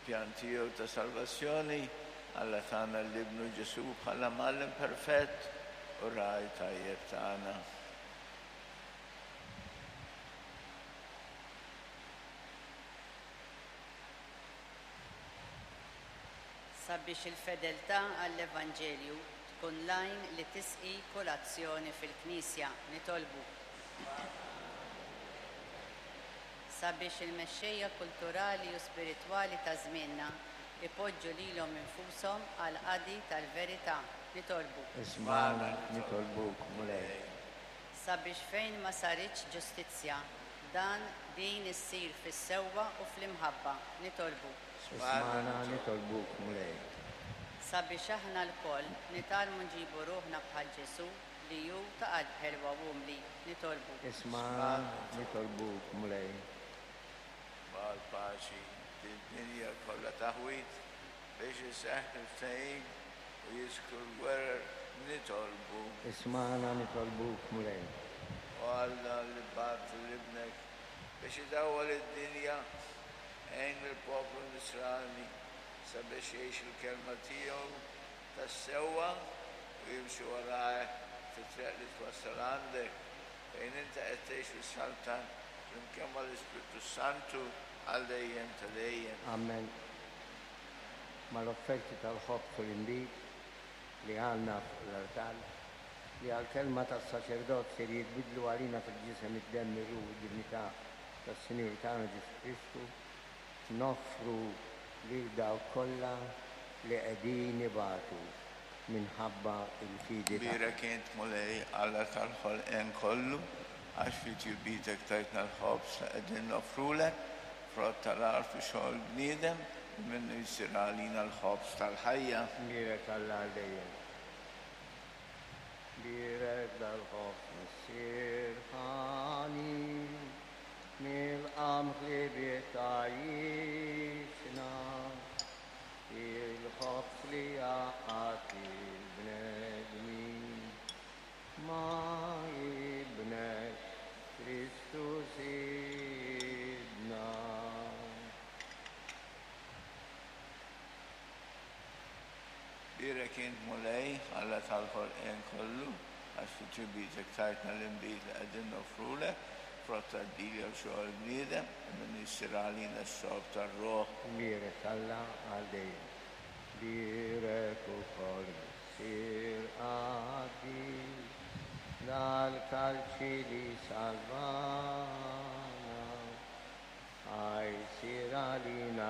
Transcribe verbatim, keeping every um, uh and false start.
Fil-pjan tiegħu ta' salvazzjoni, Alla tana lil Ibnu Ġesù bħala mgħallem perfett u ragħaj tajjeb tagħna. Sabiex il-fedeltà għall-Evanġelju tkun l-għajn li tisqi kull azzjoni fil-Knisja, nitolbu. Sabiex il-mexxejja kulturali u spiritwali ta' żmienna ipoġġu lilhom infushom għall-qadi tal-verità, nitolbu. Ismagħna, nitolbuk, Mulej. Sabiex fejn ma saritx ġustizzja, dan din issir fis-sewwa u fl-imħabba, nitolbu. Ismagħna, nitolbuk, Mulej. Sabiex aħna lkoll nitgħallmu nġibu ruħna bħal Ġesù li hu ta' qalb ħelwa u umli, nitolbu. Ismagħna, nitolbuk, Mulej. Mal-paċi din-dinja kollha taħwid biex iseħħ il-ftehim u jiskru l-gwerer, nitolbu. Ismagħna, nitolbuk, Mulej. O Alla li bgħatt lil Ibnek biex idawwal id-dinja, għin lill-poplu Nisrani sabiex jgħix il-kelma tiegħu tas-sewwa u jimxi warajh fit-triq li twassal għandek, fejn inti qed tgħix u ssaltan flimkien mal-Ispirtu Santu għal dejjem ta' dejjem. Amen. Mal-offerti tal-ħobż u l-inbid li għandna fuq l-artal, li għall-kelma tas-saċerdot ser jitbiddlu għalina fil-ġisem, id-demm, ir-ruħ u d-divinità tas-Sinjur tagħna Ġesù Kristu, noffru lil dawk kollha li qegħdin ibatu minħabba l-fidi tagħhom. Bierek int, Mulej, Alla tal-ħolqien kollu, għax fi tjubitek tajtna l-ħobż li qegħdin noffrulek, frott tal-għarf u xogħol bniedem, li minnu jsir għalina l-ħobż tal-ħajja. Bierek Alla għal dejjem. Bierek dal-ħobż Missier ħanin, mill-qamħ li bih tgħajjixna, il-ħobż li jgħaqqad il-bnedmin ma' Ibnek Kristu Sidna. Bierek int, Mulej, Alla tal-ħolqien kollu, għax fi tjubitek tajtna l-inbid li qegħdin noffrulek, frott tad-dilja u xogħol bniedem, li minnu jsir għalina x-xorb tar-ruħ. Bierek Alla għal dejjem. Bierek ukoll Missier qaddis, dal-kalċi li salvana, ħa jsir għalina